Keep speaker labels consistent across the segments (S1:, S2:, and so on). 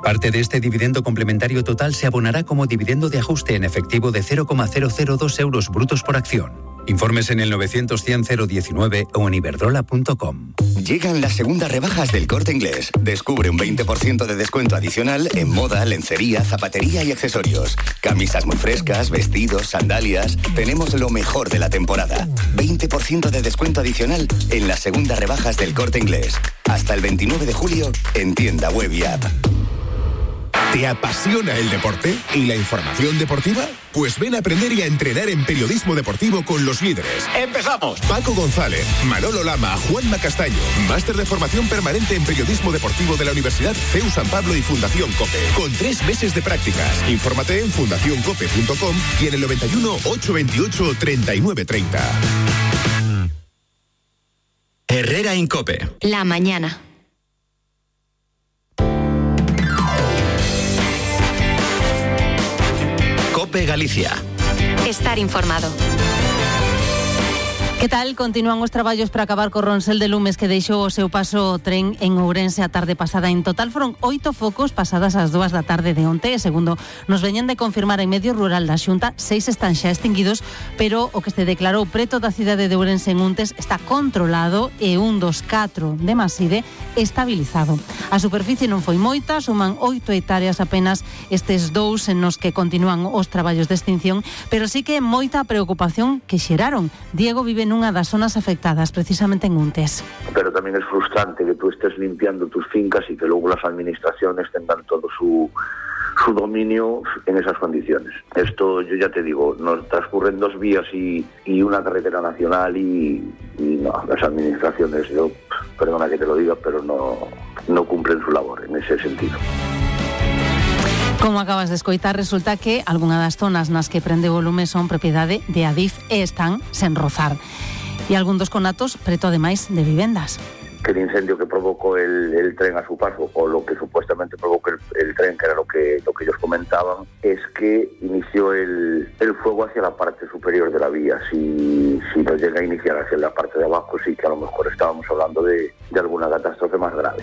S1: Parte de este dividendo complementario total se abonará como dividendo de ajuste en efectivo de 0,002 euros brutos por acción. Informes en el 900-100-019 o en iberdrola.com.
S2: Llegan las segundas rebajas del Corte Inglés. Descubre un 20% de descuento adicional en moda, lencería, zapatería y accesorios. Camisas muy frescas, vestidos, sandalias. Tenemos lo mejor de la temporada. 20% de descuento adicional en las segundas rebajas del Corte Inglés. Hasta el 29 de julio en tienda web y app.
S3: ¿Te apasiona el deporte y la información deportiva? Pues ven a aprender y a entrenar en periodismo deportivo con los líderes.
S4: ¡Empezamos!
S3: Paco González, Manolo Lama, Juanma Castaño. Máster de formación permanente en periodismo deportivo de la Universidad CEU San Pablo y Fundación COPE. Con 3 meses de prácticas. Infórmate en fundacioncope.com y en el 91 828 3930.
S5: Herrera en COPE.
S6: La mañana.
S5: COPE Galicia.
S6: Estar informado.
S7: Que tal? Continúan os traballos para acabar co Ronsel de Lumes que deixou o seu paso o tren en Ourense a tarde pasada. En total foron 8 focos pasadas as 2 da tarde de onte, e segundo nos veñen de confirmar en medio rural da Xunta, 6 están xa extinguidos, pero o que se declarou preto da cidade de Ourense en Untes está controlado e un dos 4 de Maside estabilizado. A superficie non foi moita, suman 8 hectáreas apenas estes 2 en nos que continúan os traballos de extinción, pero sí que moita preocupación que xeraron. Diego vive nunha das zonas afectadas, precisamente en Untes.
S8: Pero tamén é frustrante que tú estés limpiando tus fincas y que luego las administraciones tengan todo su dominio en esas condiciones. Esto, yo ya te digo, nos transcurren 2 vías y una carretera nacional y no, las administraciones, yo, perdona que te lo diga, pero no cumplen su labor en ese sentido.
S7: Como acabas de escoitar, resulta que algunha das zonas nas que prende o lume son propiedade de Adif e están sen rozar. E algún dos conatos preto ademais de vivendas.
S8: Que el incendio que provocó el tren a su paso, o lo que supuestamente provocó el tren, que era lo que ellos comentaban, es que inició el fuego hacia la parte superior de la vía. Si nos llega a iniciar hacia la parte de abajo, sí que a lo mejor estábamos hablando de alguna catástrofe más grave.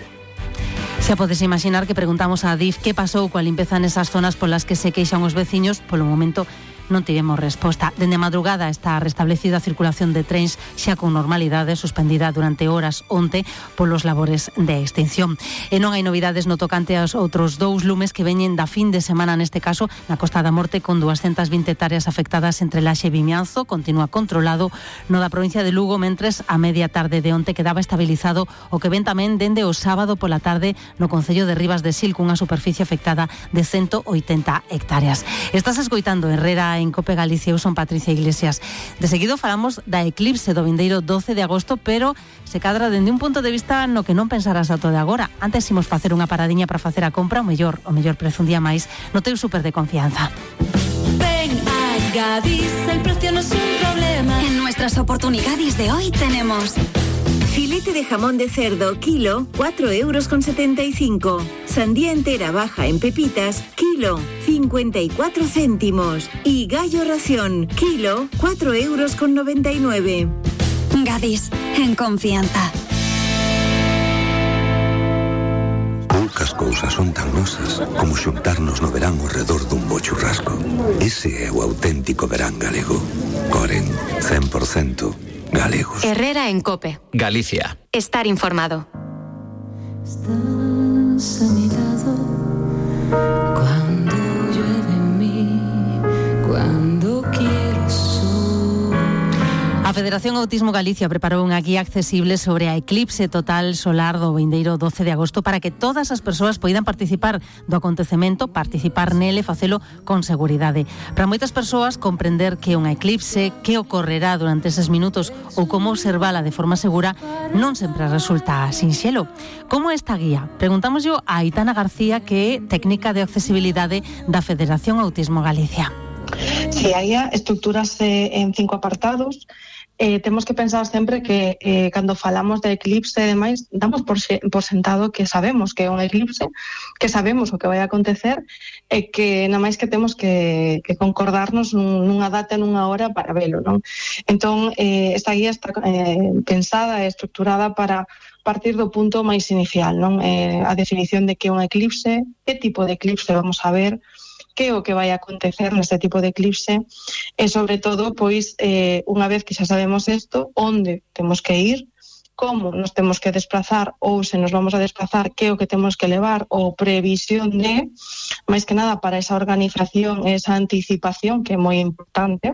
S7: Xa podes imaginar que preguntamos a Adif que pasou coa limpeza nesas zonas polas que se queixan os veciños. Polo momento non tivemos resposta. Dende a madrugada está restablecida a circulación de trens xa con normalidade, suspendida durante horas onte polos labores de extinción. E non hai novidades no tocante aos outros 2 lumes que veñen da fin de semana, neste caso na Costa da Morte, con 220 hectáreas afectadas entre Laxe e Vimianzo. Continúa controlado no da provincia de Lugo, mentres a media tarde de onte quedaba estabilizado o que ven tamén dende o sábado pola tarde no concello de Ribas de Sil, cunha superficie afectada de 180 hectáreas. Estás escoitando Herrera en COPE Galicia. Eu son Patricia Iglesias. De seguido falamos da eclipse do vindeiro 12 de agosto, pero se cadra dende un punto de vista no que non pensarás ata de agora. Antes imos facer unha paradiña para facer a compra, o mellor prezo un día máis no teu súper de confianza.
S9: Ven a Gadis, el precio no es un problema.
S6: En nuestras oportunidades de hoy tenemos
S10: filete de jamón de cerdo, kilo, 4,75 €. Sandía entera baja en pepitas, kilo, 54 céntimos. Y gallo ración, kilo, 4,99 €.
S6: Gadis, en confianza.
S11: Poucas cousas son tan nosas como xuntarnos no verán ao redor dun bo churrasco. Ese é o auténtico verán galego. Coren, 100% galegos.
S6: Herrera en COPE.
S5: Galicia.
S6: Estar informado.
S9: Estás a mi lado cuando llueve en mí, cuando quiero sol.
S7: A Federación Autismo Galicia preparou unha guía accesible sobre a eclipse total solar do vindeiro 12 de agosto para que todas as persoas poidan participar do acontecemento, participar nele, facelo con seguridade. Para moitas persoas, comprender que unha eclipse, que ocorrerá durante eses minutos ou como observala de forma segura, non sempre resulta sinxelo. Como é esta guía? Preguntámoslle a Aitana García, que é técnica de accesibilidade da Federación Autismo Galicia.
S12: Sí, a guía estructúrase en 5 apartados.
S4: temos que pensar sempre que cando falamos de eclipse e demais, damos por sentado que sabemos que é un eclipse, que sabemos o que vai acontecer e que nada máis que temos que concordarnos nunha data e nunha hora para velo, non? Entón, esta guía está pensada e estructurada para partir do punto máis inicial, non? A definición de que é un eclipse, que tipo de eclipse vamos a ver, que o que vai acontecer neste tipo de eclipse e, sobre todo, pois, unha vez que xa sabemos isto, onde temos que ir, como nos temos que desplazar ou se nos vamos a desplazar, que o que temos que levar ou previsión de, máis que nada para esa organización e esa anticipación que é moi importante.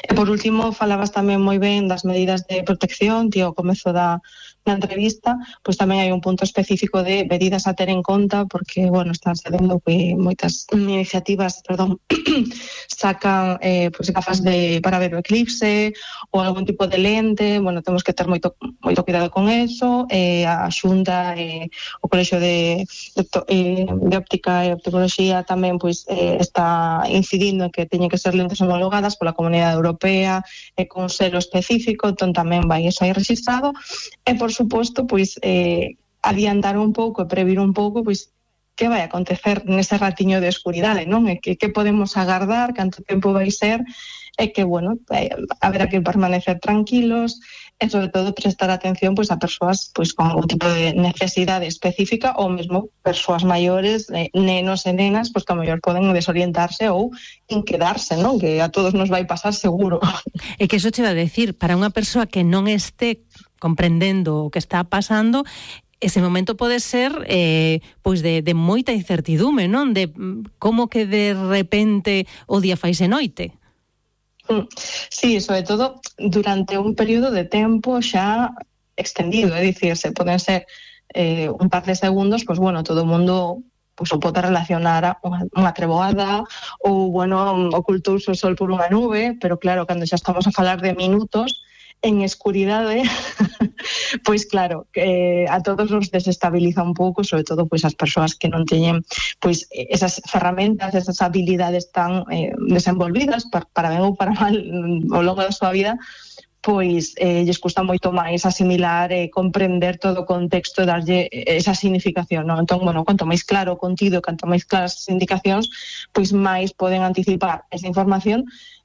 S4: E, por último, falabas tamén moi ben das medidas de protección, tío, ao comezo da entrevista, pois tamén hai un punto específico de medidas a ter en conta, porque, bueno, están sabendo que moitas iniciativas, sacan pois gafas para ver o eclipse ou algún tipo de lente, bueno, temos que ter moito cuidado con eso, a Xunta, o Colexio de Óptica e Opticoloxía tamén pois está incidindo en que teñen que ser lentes homologadas pola Comunidade Europea e con selo específico, entón tamén vai eso aí registrado, e por suposto, pois, adiantar un pouco e previr un pouco, pois, que vai acontecer nese ratiño de escuridade, non? E que podemos agardar, canto tempo vai ser, e que, bueno, haberá que permanecer tranquilos, e, sobre todo, prestar atención, pois, a persoas, pois, con algún tipo de necesidade específica, ou mesmo persoas maiores, nenos e nenas, pois, que a mellor poden desorientarse ou inquedarse, non? Que a todos nos vai pasar seguro.
S7: E que eso che va a decir, para unha persoa que non este comprendendo o que está pasando, ese momento pode ser pois de moita incertidume, non? De como que de repente o día faise noite.
S4: Sí, sobre todo durante un período de tempo xa extendido, é dicir, se poden ser un par de segundos, pois bueno, todo o mundo pois o pode relacionar a unha treboada ou, bueno, ocultouse o sol por unha nube, pero claro, cando xa estamos a falar de minutos en escuridade, pois claro, a todos nos desestabiliza un pouco, sobre todo pois as persoas que non teñen pois esas ferramentas, esas habilidades tan desenvolvidas para ben ou para mal ao longo da súa vida, pois lles custa moito máis asimilar e comprender todo o contexto e darlle esa significación, non? Entón, bueno, quanto máis claro o contido, quanto máis claras as indicacións, pois máis poden anticipar esa información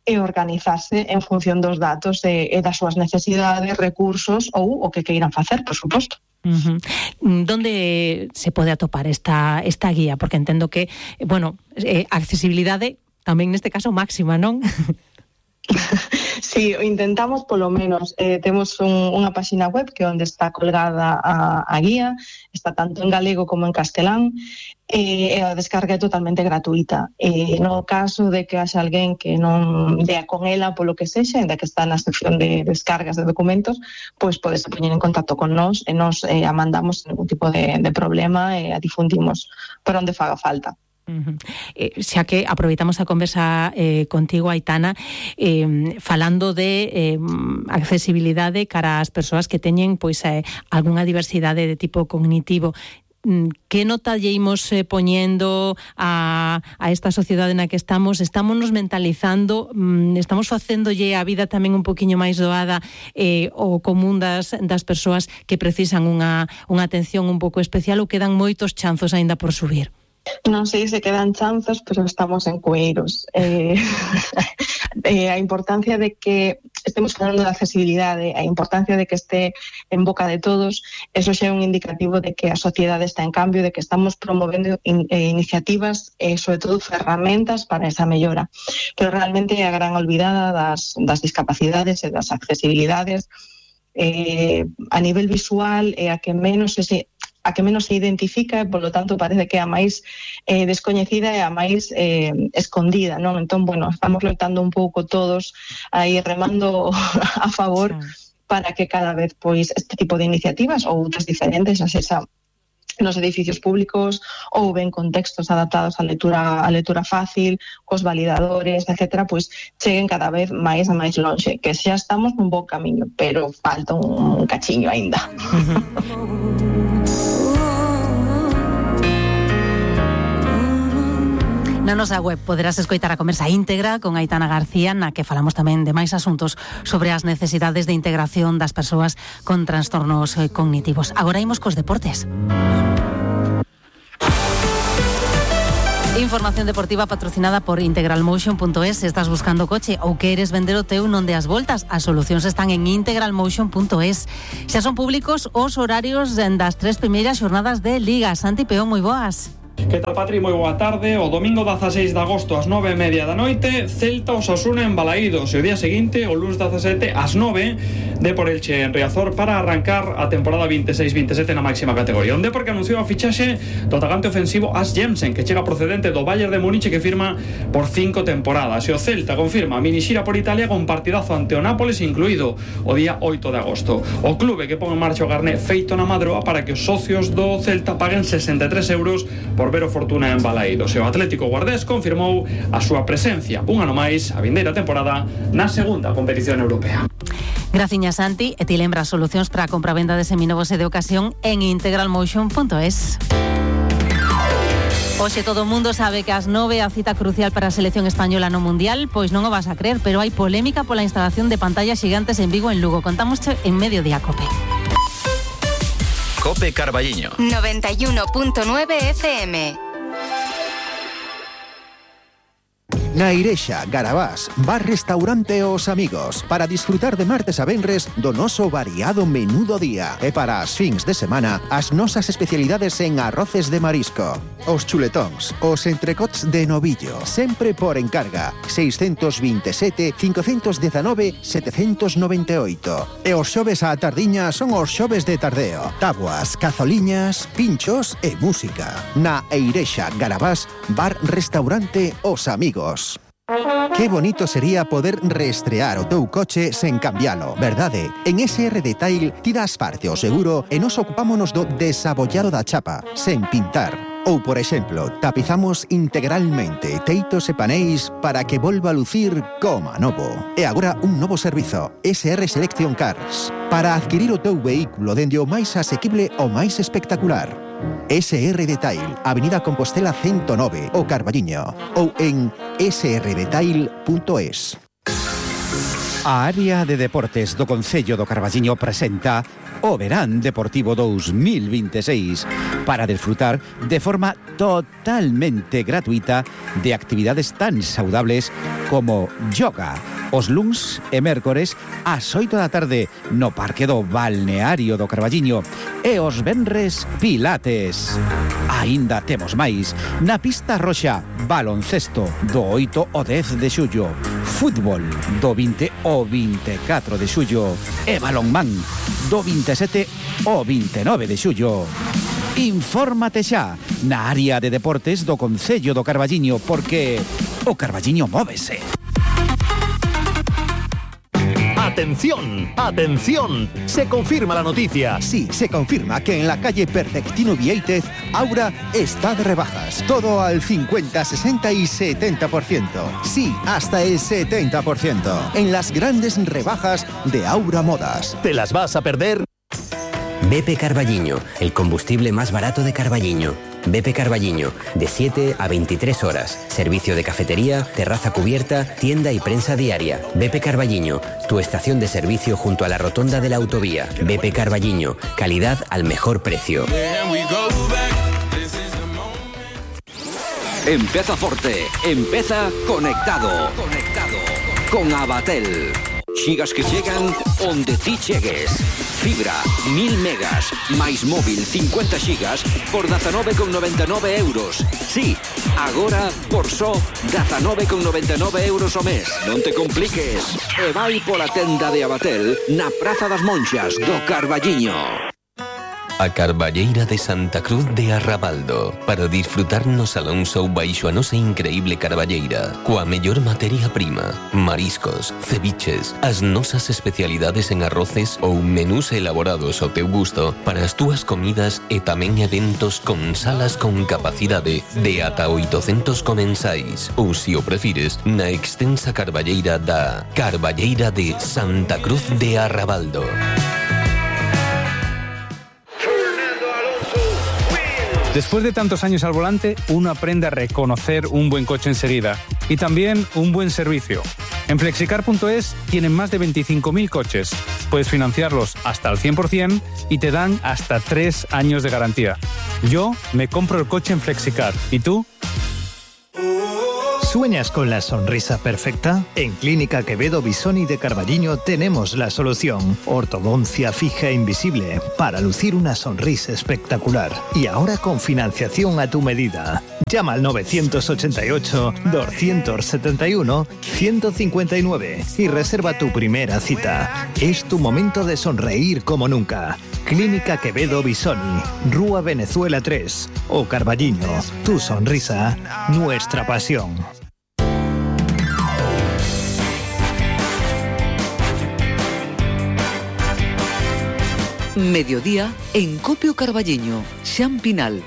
S4: e organizarse en función dos datos e das súas necesidades, recursos ou o que queiran facer, por suposto.
S7: Donde se pode atopar esta guía? Porque entendo que, bueno, accesibilidade tamén neste caso máxima, non?
S4: Sí, intentamos polo menos. Temos unha páxina web que onde está colgada a guía, está tanto en galego como en castelán, e a descarga é totalmente gratuita. No caso de que haxa alguén que non dea con ela polo que sexa, ainda que está na sección de descargas de documentos, pois podese poñer en contacto con nós e nos a mandamos ningún tipo de problema e a difundimos por onde faga falta.
S7: Xa que aproveitamos a conversa contigo, Aitana, falando de accesibilidade cara ás persoas que teñen pois algunha diversidade de tipo cognitivo, que nota lle imos poñendo a esta sociedade na que estamos nos mentalizando, estamos facéndolle a vida tamén un poquinho máis doada o común das persoas que precisan unha atención un pouco especial, ou quedan moitos chanzos aínda por subir?
S4: Non sei se quedan chanzos, pero estamos en cueiros. A importancia de que estemos falando de accesibilidade, a importancia de que este en boca de todos, eso xa é un indicativo de que a sociedade está en cambio, de que estamos promovendo iniciativas e, sobre todo, ferramentas para esa mellora. Pero realmente é a gran olvidada das discapacidades e das accesibilidades. A nivel visual é a que menos se identifica e, polo tanto, parece que é a máis descoñecida e a máis escondida, non? Entón, bueno, estamos loitando un pouco todos aí remando a favor para que cada vez, pois, este tipo de iniciativas ou outras diferentes, xa sexa nos edificios públicos ou ben con textos adaptados á lectura fácil, cos validadores, etcétera, pois cheguen cada vez máis a máis lonxe, que xa estamos nun bon camiño, pero falta un cachiño aínda.
S7: Na nosa web poderás escoitar a conversa íntegra con Aitana García, na que falamos tamén de máis asuntos sobre as necesidades de integración das persoas con trastornos cognitivos. Agora imos cos deportes. Información deportiva patrocinada por integralmotion.es. Se estás buscando coche ou queres vender o teu, non deas voltas. As solucións están en integralmotion.es. Xa son públicos os horarios das 3 primeiras xornadas de Liga. Santi Peón, moi boas.
S12: Que tal, Patri? Moi boa tarde. O domingo 16 de agosto ás 9:30 da noite, Celta Osasuna en Balaídos, e o día seguinte, o luns 17 ás 9, Depor Elche en Riazor, para arrancar a temporada 26-27 na máxima categoría. Un Depor que anunciou a fichaxe do atacante ofensivo As Jensen, que chega procedente do Bayern de Múnich, que firma por 5 temporadas. E o Celta confirma a minixira por Italia con partidazo ante o Nápoles, incluído o día 8 de agosto. O clube que pon en marcha o carné feito na Madroa para que os socios do Celta paguen 63 euros por ver o Fortuna en Balaídos. E o Atlético Guardés confirmou a súa presencia un ano máis a vindeira temporada na segunda competición europea.
S7: Graciña, Santi, e ti lembras solucións para a compra-venda de seminovos e de ocasión en integralmotion.es. Hoxe todo o mundo sabe que ás 9 a cita crucial para a selección española no Mundial, pois non o vas a creer, pero hai polémica pola instalación de pantallas gigantes en Vigo, en Lugo. Contámosche en Mediodía Cope.
S5: Cope Carballiño
S6: 91.9 FM.
S13: Na Irexa, Garabás, bar-restaurante Os Amigos, para disfrutar de martes a venres do noso variado menú do día. E para as fins de semana, as nosas especialidades en arroces de marisco, os chuletóns, os entrecots de novillo, sempre por encarga, 627 519 798. E os xoves á tardiña son os xoves de tardeo, tabuas, cazoliñas, pinchos e música. Na Irexa, Garabás, bar-restaurante Os Amigos. Qué bonito sería poder reestrear o teu coche sen cambialo, verdade? En SR Detail ti das parte ao seguro e nos ocupámonos do desabollado da chapa, sen pintar. Ou, por exemplo, tapizamos integralmente teitos e paneis para que volva a lucir como novo. E agora un novo servizo, SR Selection Cars, para adquirir o teu vehículo dende o máis asequible ao máis espectacular. SR Detail, Avenida Compostela 109, o Carballiño, ou en srdetail.es. A área de deportes do Concello do Carballiño presenta o Verán Deportivo 2026 para disfrutar de forma totalmente gratuita de actividades tan saudables como yoga, os luns e mércores ás 8 da tarde no Parque do Balneario do Carballiño e os venres pilates. Aínda temos máis na pista roxa, baloncesto do 8 ao 10 de xullo, fútbol do 20 ao 24 de xullo e balonmán do 27 ao 29 de xullo. Infórmate xa na área de deportes do Concello do Carballiño, porque o Carballiño móvese.
S14: ¡Atención! ¡Atención! Se confirma la noticia.
S13: Sí, se confirma que en la calle Perfectino Vieitez, Aura está de rebajas. Todo al 50, 60 y 70%. Sí, hasta el 70%. En las grandes rebajas de Aura Modas.
S14: ¿Te las vas a perder?
S15: BP Carballiño, el combustible más barato de Carballiño. BP Carballiño, de 7 a 23 horas. Servicio de cafetería, terraza cubierta, tienda y prensa diaria. BP Carballiño, tu estación de servicio junto a la rotonda de la autovía. BP Carballiño, calidad al mejor precio.
S16: Empieza Forte, empieza conectado. Con Abatel. Xigas que llegan onde ti chegues. Fibra, 1000 megas, máis móvil 50 xigas por 19,99 euros. Sí, agora por só 19,99 euros ao mes. Non te compliques. E vai pola tenda de Abatel na Praza das Monxas do Carballiño.
S17: A Carballeira de Santa Cruz de Arrabaldo, para disfrutar no Salón Show baixo a nosa increíble carballeira, coa mellor materia prima, mariscos, ceviches, as nosas especialidades en arroces ou menús elaborados ao teu gusto para as túas comidas e tamén eventos con salas con capacidade de ata 800 comensais, ou se o prefires, na extensa carballeira da Carballeira de Santa Cruz de Arrabaldo.
S18: Después de tantos años al volante, uno aprende a reconocer un buen coche enseguida y también un buen servicio. En Flexicar.es tienen más de 25.000 coches. Puedes financiarlos hasta al 100% y te dan hasta 3 años de garantía. Yo me compro el coche en Flexicar. ¿Y tú?
S19: ¿Sueñas con la sonrisa perfecta? En Clínica Quevedo Bisoni de Carballiño tenemos la solución. Ortodoncia fija e invisible para lucir una sonrisa espectacular. Y ahora con financiación a tu medida. Llama al 988-271-159 y reserva tu primera cita. Es tu momento de sonreír como nunca. Clínica Quevedo Bisoni, Rúa Venezuela 3 o Carballiño. Tu sonrisa, nuestra pasión.
S20: Mediodía en Copio Carballiño, Xan Pinal.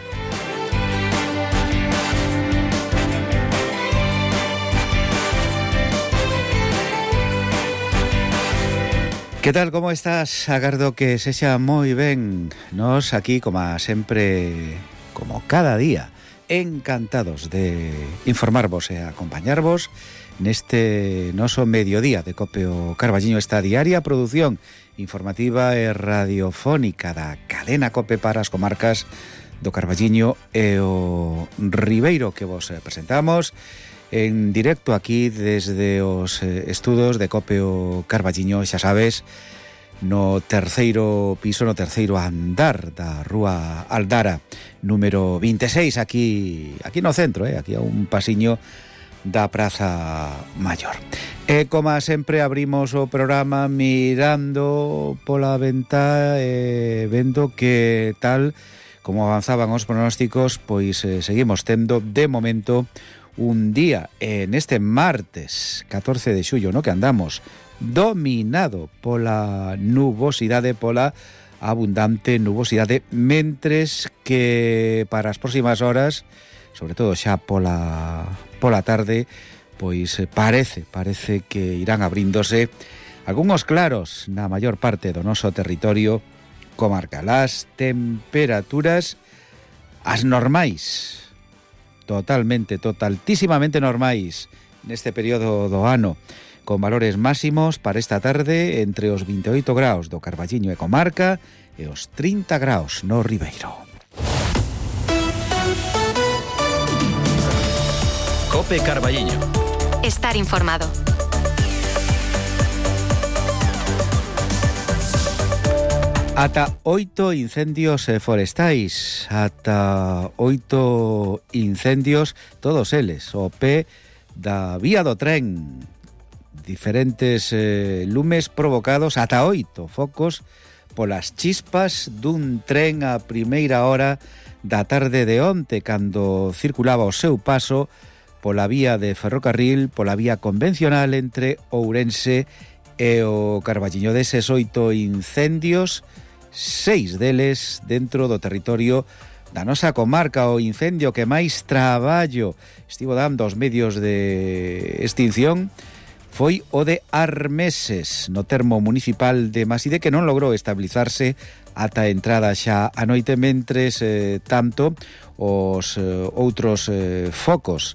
S21: Que tal, como estás? Agardo que sexa moi ben. Nos aquí, como sempre, como cada día, encantados de informarvos e acompañarvos neste noso mediodía de Copio Carballiño, esta diaria produción informativa e radiofónica da cadena Cope para as comarcas do Carballiño e o Ribeiro, que vos presentamos en directo aquí desde os estudos de Copio Carballiño, xa sabes, no terceiro piso, no terceiro andar da Rúa Aldara, número 26, aquí no centro, aquí a un pasiño da Praza Maior. E como sempre abrimos o programa mirando pola ventá e vendo que tal como avanzaban os pronósticos, pois seguimos tendo de momento un día en este martes 14 de xullo, no que andamos dominado pola nubosidade, pola abundante nubosidade, mentres que para as próximas horas, sobre todo xa pola tarde, pois parece que irán abríndose algúns claros na maior parte do noso territorio comarcal. As temperaturas, as normais, totaltísimamente normais neste período do ano, con valores máximos para esta tarde entre os 28 graus do Carballiño e comarca e os 30 graus no Ribeiro.
S5: Cope Carballiño.
S6: Estar informado.
S21: Ata 8 incendios forestais, ata 8 incendios, todos eles o pé da vía do tren, diferentes lumes provocados, ata 8 focos polas chispas dun tren a primeira hora da tarde de onte, cando circulaba o seu paso pola vía de ferrocarril, pola vía convencional entre Ourense e o Carballiño. Deses 8 incendios, 6 deles dentro do territorio da nosa comarca. O incendio que máis traballo estivo dando os medios de extinción foi o de Armeses, no termo municipal de Maside, que non logrou estabilizarse ata a entrada xa a noite, mentres tanto os outros focos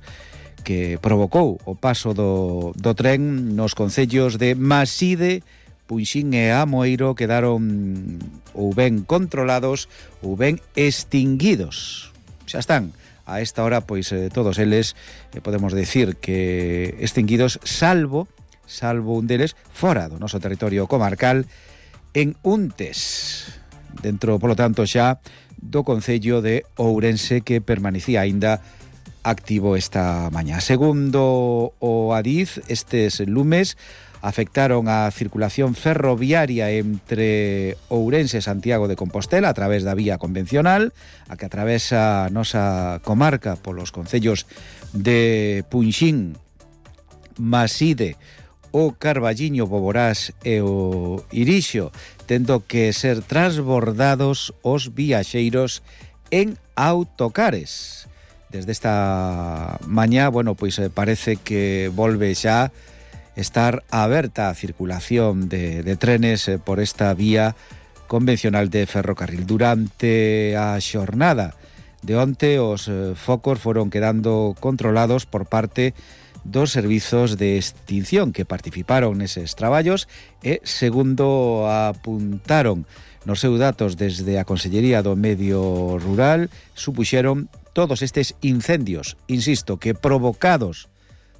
S21: que provocou o paso do tren nos concellos de Maside, Punxín e Amoeiro quedaron ou ben controlados ou ben extinguidos. Xa están a esta hora, pois todos eles podemos decir que extinguidos, salvo un deles fora do noso territorio comarcal, en Untes, dentro, polo tanto, xa do concello de Ourense, que permanecía aínda activo esta mañá. Segundo o Adif, estes lumes afectaron a circulación ferroviaria entre Ourense e Santiago de Compostela a través da vía convencional, a que atravesa a nosa comarca polos concellos de Punxín, Maside, o Carballiño, Boborás e o Irixo, tendo que ser transbordados os viaxeiros en autocares. Desde esta mañá, pois parece que volve xa estar aberta a circulación de trenes por esta vía convencional de ferrocarril. Durante a xornada de onte os focos foron quedando controlados por parte dos servizos de extinción que participaron neses traballos e, segundo apuntaron nos seus datos desde a Consellería do Medio Rural, supuxeron todos estes incendios, insisto, que provocados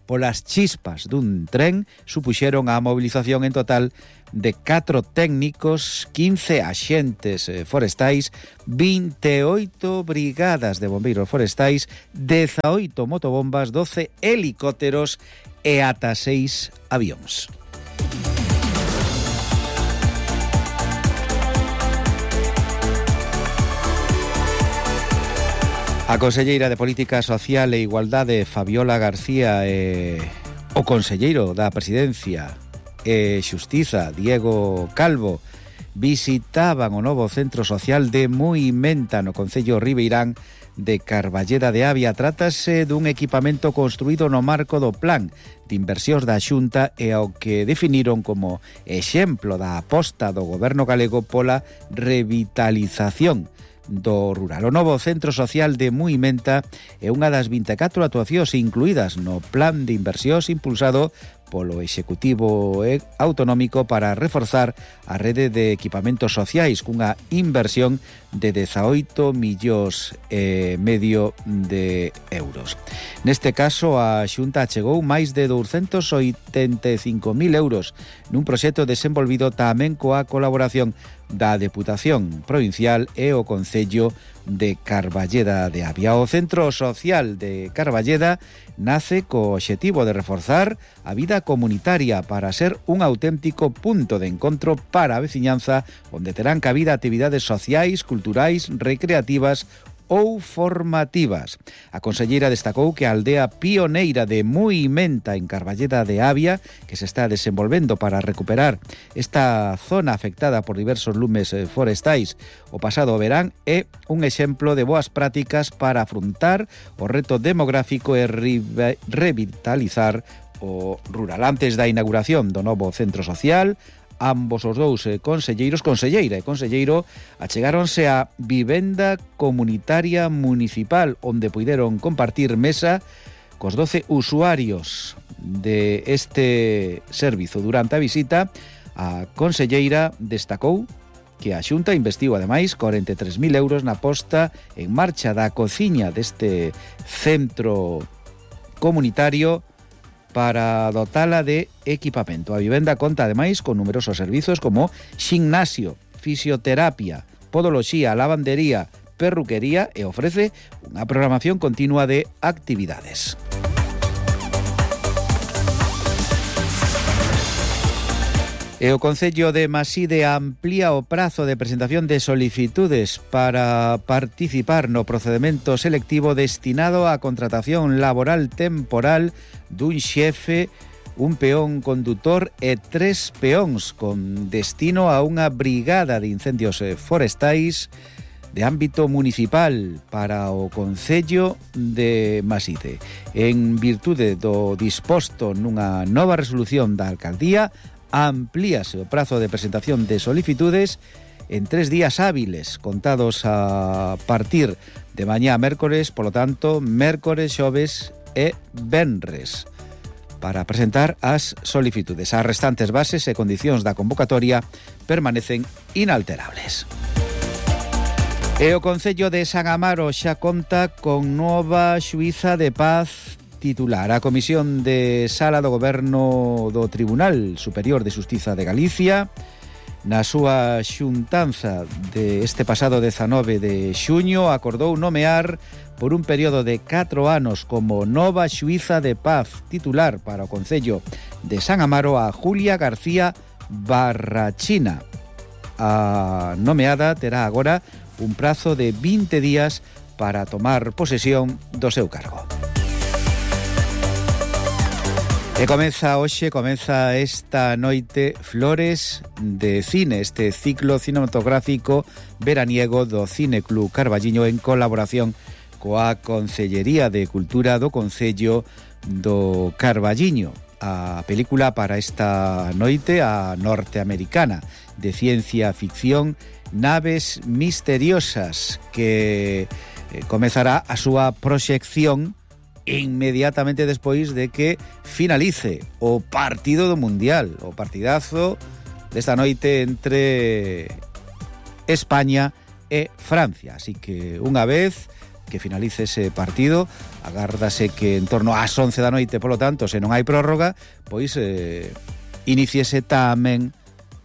S21: polas chispas dun tren, supuxeron a movilización en total de 4 técnicos, 15 axentes forestais, 28 brigadas de bombeiros forestais, 18 motobombas, 12 helicópteros e ata 6 avións. A conselleira de Política Social e Igualdade, Fabiola García, e o conselleiro da Presidencia e Xustiza, Diego Calvo, visitaban o novo centro social de Muimenta no concello Ribeirán de Carballeda de Avia. Trátase dun equipamento construído no marco do plan de inversións da Xunta e ao que definiron como exemplo da aposta do goberno galego pola revitalización do rural. O novo centro social de Muimenta é unha das 24 actuacións incluídas no plan de inversións impulsado polo Executivo Autonómico para reforzar a rede de equipamentos sociais cunha inversión de 18,5 millóns de euros. Neste caso, a Xunta achegou máis de 285.000 euros nun proxecto desenvolvido tamén coa colaboración da Deputación Provincial e o Concello de Carballeda de Avia. O Centro Social de Carballeda nace co obxectivo de reforzar a vida comunitaria para ser un auténtico punto de encontro para a veciñanza onde terán cabida actividades sociais, culturais, recreativas ou formativas. A conselleira destacou que a aldea pioneira de Muimenta en Carballeda de Avia, que se está desenvolvendo para recuperar esta zona afectada por diversos lumes forestais o pasado verán, é un exemplo de boas prácticas para afrontar o reto demográfico e revitalizar o rural. Antes da inauguración do novo centro social, ambos os dous conselleira e conselleiro achegáronse á vivenda comunitaria municipal onde puideron compartir mesa cos 12 usuarios de este servizo. Durante a visita, a conselleira destacou que a Xunta investiu ademais 43.000 euros na posta en marcha da cociña deste centro comunitario para dotala de equipamento. A vivenda conta ademais con numerosos servizos como ximnasio, fisioterapia, podoloxía, lavandería, perruquería e ofrece unha programación continua de actividades. E o Concello de Maside amplía o prazo de presentación de solicitudes para participar no procedemento selectivo destinado á contratación laboral temporal dun xefe, un peón condutor e 3 peóns con destino a unha brigada de incendios forestais de ámbito municipal para o Concello de Maside. En virtude do disposto nunha nova resolución da Alcaldía, amplíase o prazo de presentación de solicitudes en 3 días hábiles, contados a partir de mañá mércores, polo tanto, mércores, xoves e venres, para presentar as solicitudes. As restantes bases e condicións da convocatoria permanecen inalterables. E o Concello de San Amaro xa conta con nova xuíza de paz titular. A Comisión de Sala do Goberno do Tribunal Superior de Xustiza de Galicia, na súa xuntanza de este pasado 19 de xuño, acordou nomear por un período de 4 anos como nova xuíza de paz titular para o Concello de San Amaro a Julia García Barrachina. A nomeada terá agora un prazo de 20 días para tomar posesión do seu cargo. E comeza esta noite Flores de Cine, este ciclo cinematográfico veraniego do Cine Club Carballiño en colaboración coa Consellería de Cultura do Concello do Carballiño. A película para esta noite, a norteamericana de ciencia ficción Naves Misteriosas, que comezará a súa proxección inmediatamente despois de que finalice o partido do Mundial, o partidazo desta noite entre España e Francia. Así que unha vez que finalice ese partido, agárdase que en torno ás 11 da noite, polo tanto, se non hai prórroga, pois iniciese tamén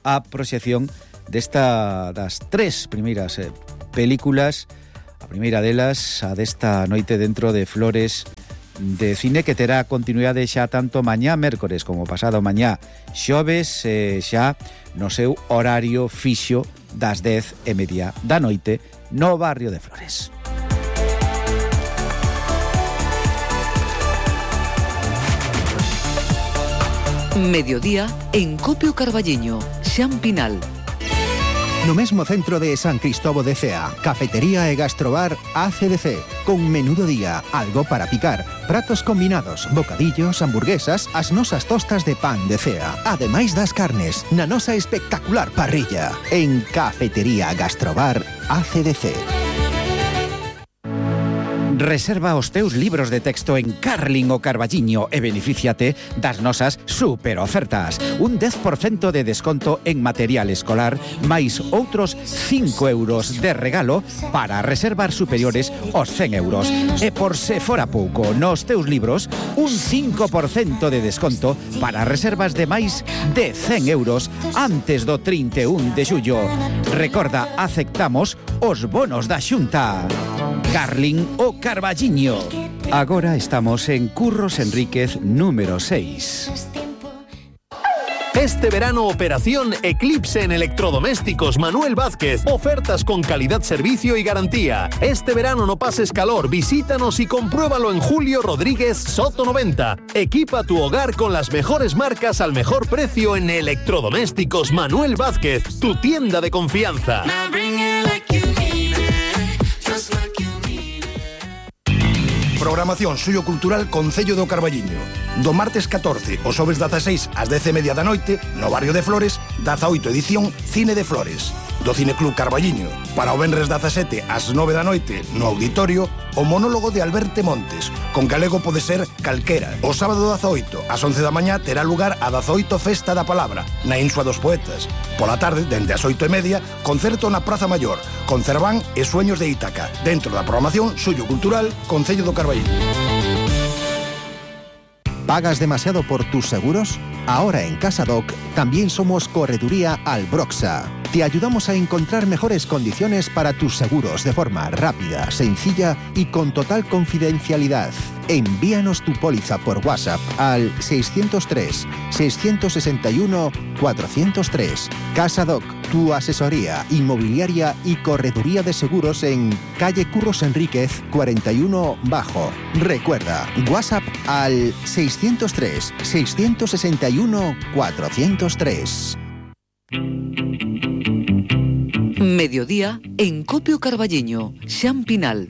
S21: a proxección das tres primeiras películas. A primeira delas, a desta noite dentro de Flores de Cine, que terá continuidade xa tanto mañá mércores como pasado mañá xoves, xa no seu horario fixo das 10:30 da noite no barrio de Flores.
S20: Mediodía en Copio Carballiño, Xampinal.
S13: No mesmo centro de San Cristóbal de Cea, cafetería e gastrobar ACDC, con menudo día, algo para picar, pratos combinados, bocadillos, hamburguesas, as nosas tostas de pan de Cea, ademais das carnes, na nosa espectacular parrilla, en Cafetería Gastrobar ACDC.
S21: Reserva os teus libros de texto en Carling o Carballiño e benefíciate das nosas super ofertas. Un 10% de desconto en material escolar, máis outros 5 euros de regalo para reservar superiores aos 100 euros. E por se fora pouco, nos teus libros, un 5% de desconto para reservas de máis de 100 euros antes do 31 de xullo. Recorda, aceptamos os bonos da Xunta. Carling o Carballiño. Agora estamos en Curros Enríquez número 6.
S14: Este verano, operación Eclipse en electrodomésticos Manuel Vázquez. Ofertas con calidad, servicio y garantía. Este verano no pases calor, visítanos y compruébalo en Julio Rodríguez Soto 90. Equipa tu hogar con las mejores marcas al mejor precio en electrodomésticos Manuel Vázquez, tu tienda de confianza.
S1: Programación sociocultural Concello do Carballiño. Do martes 14 ao xoves 16 ás 10:30 da noite, no barrio de Flores, 18 edición Cine de Flores, do Cineclub Carballiño. Para o venres 17 ás 9 da noite, no auditorio, o monólogo de Alberto Montes, con galego pode ser calquera. O sábado 18 ás 11 da mañá terá lugar a 18 Festa da Palabra, na Insua dos Poetas. Pola tarde, dende as 8:30, concerto na Praza Maior, con Cerván e Sueños de Ítaca, dentro da programación Suyo Cultural Concello do Carballiño.
S13: ¿Pagas demasiado por tus seguros? Ahora en CasaDoc también somos Correduría Albroxa. Te ayudamos a encontrar mejores condiciones para tus seguros de forma rápida, sencilla y con total confidencialidad. Envíanos tu póliza por WhatsApp al 603-661-403. CasaDoc, tu asesoría inmobiliaria y correduría de seguros en calle Curros Enríquez 41 Bajo. Recuerda, WhatsApp al 603-661-403.
S20: Mediodía en Copio Carballiño, Xampinal.